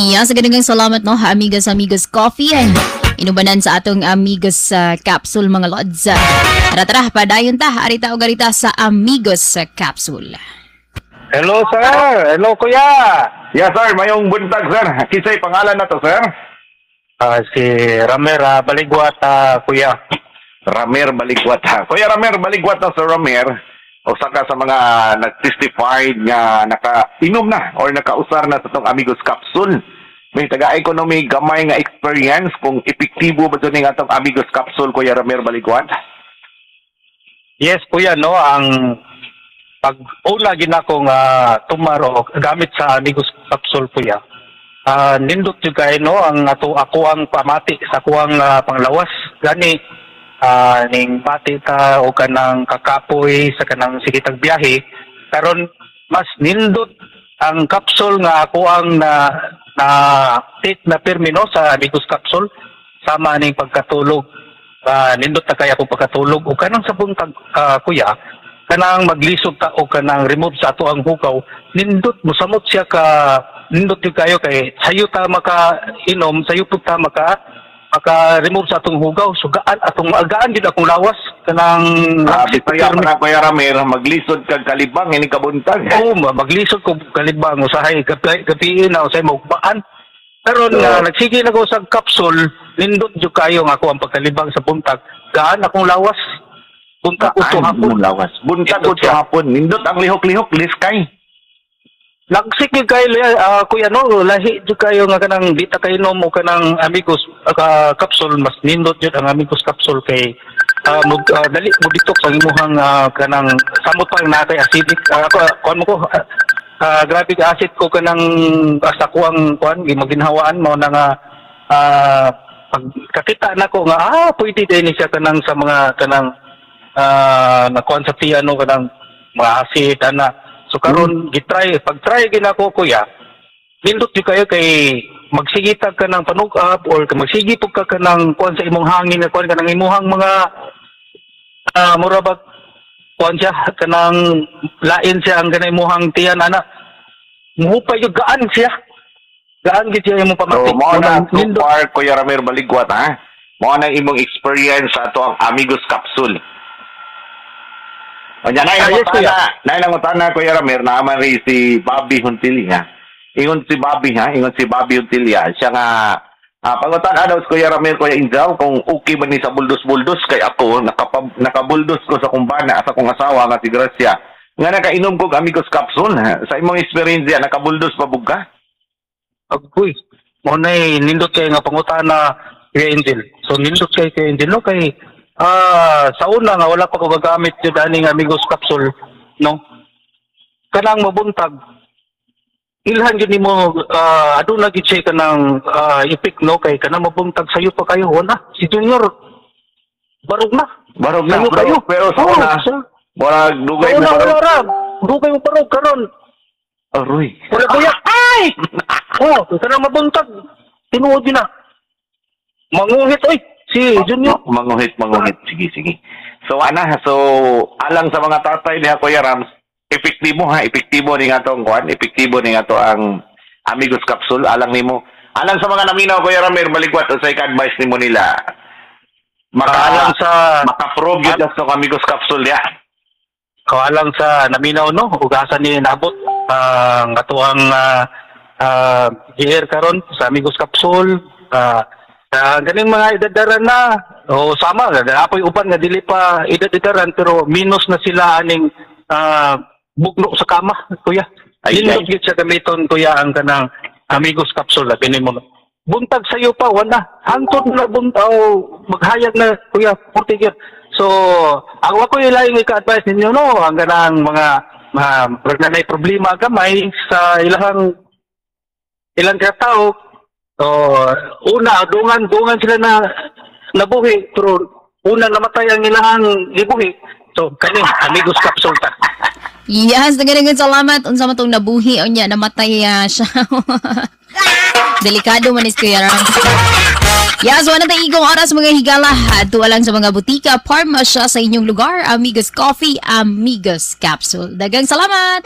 Iya, sa ganagang salamat, no, Amigos Amigos Coffee. Inubanan sa atong Amigos Capsule, mga lods. Tara tara, padayon ta, arita og arita sa Amigos Capsule. Hello, sir. Hello, kuya. Yes, sir. Mayong buntag, sir. Kinsay pangalan na to, sir? Si Ramer Baligwat, kuya. Ramer Baligwat. Kuya Ramer Baligwat na, Sir Ramer. Usa ka sa mga nag-testified nga naka-inom na or nakausar na sa tong Amigos Capsule. May taga ko no may gamay nga experience kung epektibo ba ito ning atong Amigos Capsule, Kuya Ramer Baligwat. Yes, kuya, no, ang pag una ginako nga tumaro gamit sa Amigos Capsule, kuya. Nindot jud kay no ang ato ako ang pamati sa kuang panglawas. Gani ning bati ta o kanang kakapoy sa kanang sige tag biyahe karon, mas nindot ang capsule nga ako ang na na take na pirmi no sa Amigos Capsule sama ning pagkatulog. Nindot na kay ako pagkatulog o kanang sa buntag, kuya, kanang maglisod ta o kanang remove sa ato ang hugaw, nindot musamot siya ka, nindot jud kayo kay sayo ta maka inom, sayo pud ta maka remove sa atong hugaw. So gaan atong gaan gid akong lawas kanang Grabe pa pirmi. Na, Kuya Ramer, maglisod kag kalibang ini kabuntag. Oo, maglisod ko kalibang usahay gabi, gabi na usahay maugmaan. Karon nga nagsige na ko sa capsule, nindot jud kayo nga ako ang pagkalibang sa buntag. Gaan akong lawas. Buntag uto Gaan hapon. mo lawas. Buntag Nindot uto siya. hapon. Nindot ang lihok-lihok, liskay. Lagsik gyud kayo, kuya, no, lahi jud kayo nga kanang di ta kainom o kanang Amigos Capsule, mas nindot jud ang Amigos Capsule kay dali mo detox ang imuhang kanang samot pa na kay acidic. Ako kuan mo ko grabe ka acid ko kanang sa kuang kuan maginhawaan mo na nga pag kakita nako nga pwede din ni siya kanang sa mga kanang nakuan sa tiyan no kanang mga acid ana. So karon gitry, pag try ginako, kuya, nindot jud kayo kay magsigitag ka ng panug-up or magsigi pug ka kanang kuan sa imong hangin nga kuan kanang imuhang mga mura ba kuan siya kanang lain siya ang kanang imuhang tiyan ana, muhupay jud, gaan siya, gaan gid siya imong pamati. So, mao na so Nindot. far, Kuya Ramer Baligwat, ha? Mao na imong experience sa ato ang Amigos Capsule. O niya, Yes, kuya. Naay nangutana, Kuya Ramer, naaman rin si Bobby Huntilia. Ingon si Bobby, ha? Ingon si Bobby Huntilia. Siya nga, pangutan daw si Kuya Ramer, Kuya Injaw, kung okay ba ni sa buldos-buldos, kay ako, nakabuldos ko sa kumbana, sa kong asawa nga si Gracia. Nga nakainom ko og Amigos Capsule, ha? Sa imong experience yan, nakabuldos pa bug ka? Agoy. Mo na nindot kay nga pangutana, Kuya Angel. So nindot kay Kuya Angel no kay sa una nga wala pa ko gagamit jud aning Amigos Capsule no. Kanang mabuntag ilhan gyud nimo aduna gyud siya kanang epek no kay kanang mabuntag sayo pa kayo wala si Junior, barog na. Barog na, Sayo pero, kayo. pero sa Oo, una, murag dugay sa mo una barog. wala ra. Dugay mo barog karon. Aroy. Wala kuya. Ay! Oh, kanang mabuntag. Tinuod yun na. Manguhit oy si Junior. Manguhit, manguhit. Sige, sige. So, ana, so, alang sa mga tatay niya, Kuya Rams, epektibo ha, epektibo ni nga tong kuan, epektibo ni nga to ang Amigos Capsule, alang nimo. Alang sa mga naminaw, Kuya Ramir, maligwat, unsay ka-advice nimo nila? Maka, Alang sa maka-prove yun sa Amigos Capsule ya. Alang sa naminaw no, ugasa ni nabot ang atuang GR karon sa Amigos Capsule. Ganing mga edadaran na o sama apoy uban nga dili pa edad-edaran pero minus na sila aning bugno sa kama, kuya. Ay, Nindot ay. gyud siya gamiton, kuya, ang kanang Amigos Capsule labi nimo. Buntag sayo pa wala. Hangtod na buntaw maghayag na, kuya, 40 gyud. So, ang wa ko ilaing ika-advise ninyo no, ang kanang mga mga na problema gamay sa ilahang ilang katao. So, una dungan dungan sila na nabuhi pero una namatay ang ilahang gibuhi. So, kani Amigos Capsule ta. Yes, daghang salamat. Unsa man tong nabuhi unya namatay siya. Delikado man is Kuya Ram. Yes, wala na igong oras, mga higala. Adto lang sa mga butika, pharmacy sa inyong lugar. Amigos Coffee, Amigos Capsule. Daghang salamat!